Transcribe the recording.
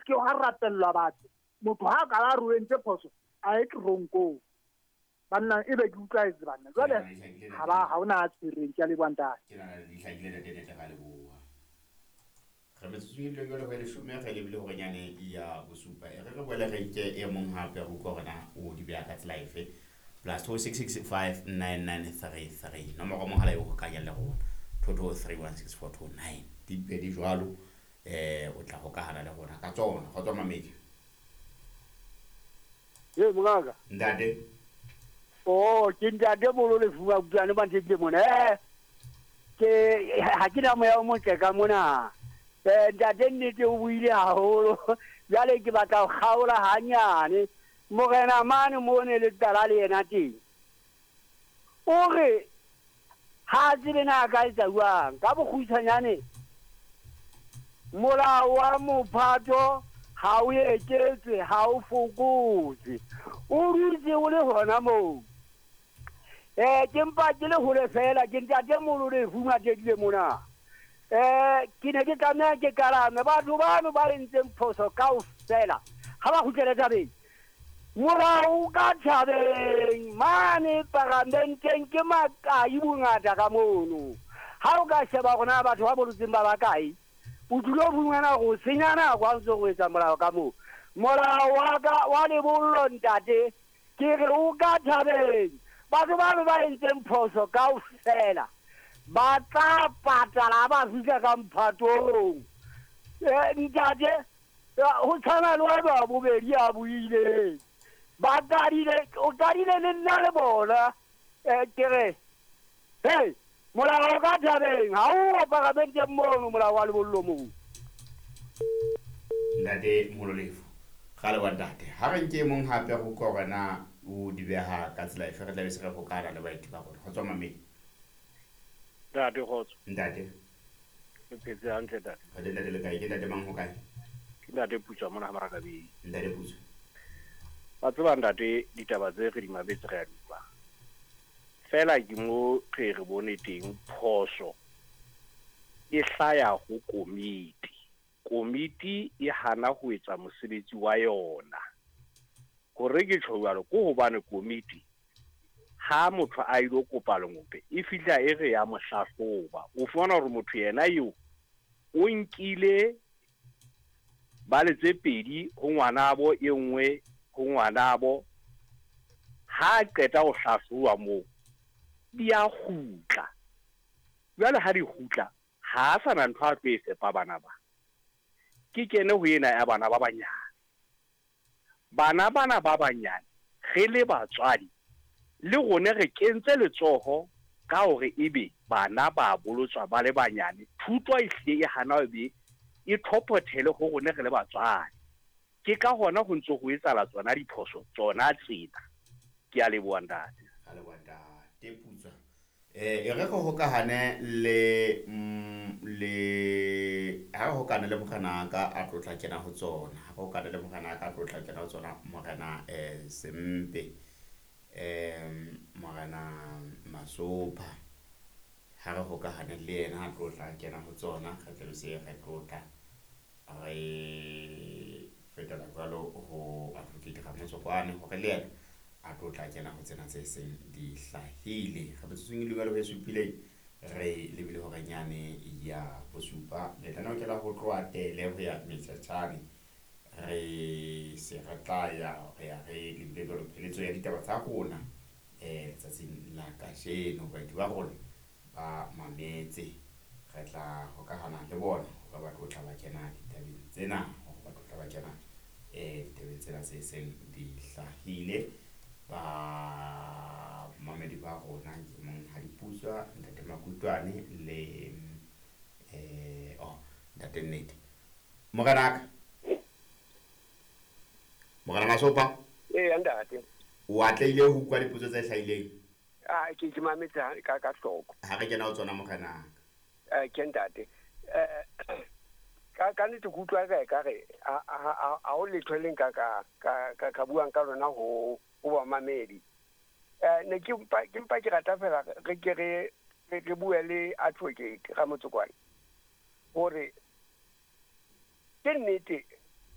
se ke hwa rapellwa batho. Motho ha ka ba re o entse phoso, a ye teronkong. Banna e be ke utlwaetse banna. Jwale ha ba ha ona a tshwereng, ke a leboha ntate. Ke nahana di hlakile ntate Nete, ra leboha. Re metsotsong e dileng jwale ho e leshome re lebile horenyane ya bosupa. E re re boele re nke e mong hape re utlwe hore na o di beha ka tsela efe. +266 59933 nomoro mohala e o hokanya le rona 22316429 di pedi jwalo, o tla hokahana le rona ka tsona. Kgotso mamedi. Ee, mongaka. Ntate. Oh, ke ntate Bolo Lefuba Kutlwane Mantete mona. Ke ha ke na moya o motle ka mona. Ntate nnete o buile haholo. Jwale ke batla ho kgaola hanyane. Morena mane mo ne le qala le yena teng. O re ha a tsebe na a ka etsa jwang. Ka bokgutshwanyane molao wa mophato ha o eketswe, ha o fokotswe, o dutse o le hona moo. Ke mpa ke le hole fela, ke ntate Molo Lefu Matetile mona. Ke ne ke tlameha ke kalame batho bano ba entseng phoso kaofela, ha ba kgutlele tabeng. Molao ka thabeng mane paramenteng ke makai bongata ka mono. Ha o ka sheba hore na batho ba bolotseng ba bakae, o tlilo fumana hore o senya nako ha o ntso o etsa molao ka moo. Molao wa ka wa lebollo ntate, ke re o ka thabeng. Batho bano ba entseng phoso kaofela ba tla patala ha ba fihla ka mphatong. Ntate, ho tshwana le wa ba bobedi a buileng. Ba qadile, o qadile le nna le bona. Ke re, hey, molao ka thabeng, ha o paramenteng mono molao wa lebollo moo. Ntate Molo Lefu, ga le wa ntate. Ha re nke mong hape go utlwa hore na o di beha ka tsela efe, re tla be se re hokana le baeti ba rona. Kgotso mamedi. Ntate kgotso. Ntate. Re phetse hantle ntate. Re ntate le kae? Ke ntate mang ho kae? Ke ntate Putswa mona ha Marakabeng. Ntate Putswa. Wa tseba ntate, ditaba tse re di mametse re a di utlwa. Fela ke mo re re bone teng phoso e hlaya ho komiti. Komiti e hana ho etsa mosebetsi wa yona. Hore ke tjho jwalo ke hobane komiti ha motho a ilo kopa lengope e fihla e re ya mo hlahloba. O fumana hore motho yena eo o nkile bale tse pedi ho ngwanabo, e nngwe ho ngwanabo. Ha qeta ho hlahloba moo di a kgutla. Jwale ha di kgutla ha a sana ntho a tlo e fepa bana ba. Ke kene ho ena ya bana ba banyane. Bana bana ba banyane re le batswadi le rone re kentse letsoho ka hore ebe bana ba bolotswa ba le banyane. Thuto e hlile e hana ebe e thophothele ho rone re le batswadi. Ke ka hona ho ntse ho etsahala tsona diphoso tsona tsena. Ke a leboha ntate. Ka leboha ntate Putswa. E re go hokahane le le ha re hokane le morena ka a tlotla kena ho tsona. Ha re hokane le morena ka a tlotla kena ho tsona, morena Sempe, morena Masopha. Ha re hokahane le yena a tlotla kena ho tsona, re tla be se re tlotla re fetela jwalo ho advocate Ramotsokwane hore le yena a tlotla kena ho tsena tse seng di hlahile. Re metsotsong e lumela ho e supileng re lebile horenyane ya bosupa. Lenaneo ke la ho tloha Tele ho ya Metshetshane. Re se re tla ya re ya re lebile jwalo pheletso ya ditaba tsa rona letsatsing la kajeno. Baeti ba rona ba mametse, re tla hokahana le bona hore ba tlotla ba kena ditabeng tsena, hore ba tlotla ba kena ditabeng tsena tse seng di hlahile. Ba mamedi ba rona ke Monghadi Putswa, ntate Makutwane le oh ntate Nnete. Morenaka, morena Masopa. Ee, ntate. O atlehile ho utlwa dipotso tse hlahileng? Ah, ke mametse ka hloko. Ha re kena ho tsona morenaka. Ke ntate. Ka nnete ke utlwa ka re ha ho letho le nka ka buang ka lona ho bamamedi. Ne ke mpa ke rata fela re ke re bue le advocate Ramotsokwane hore ke nnete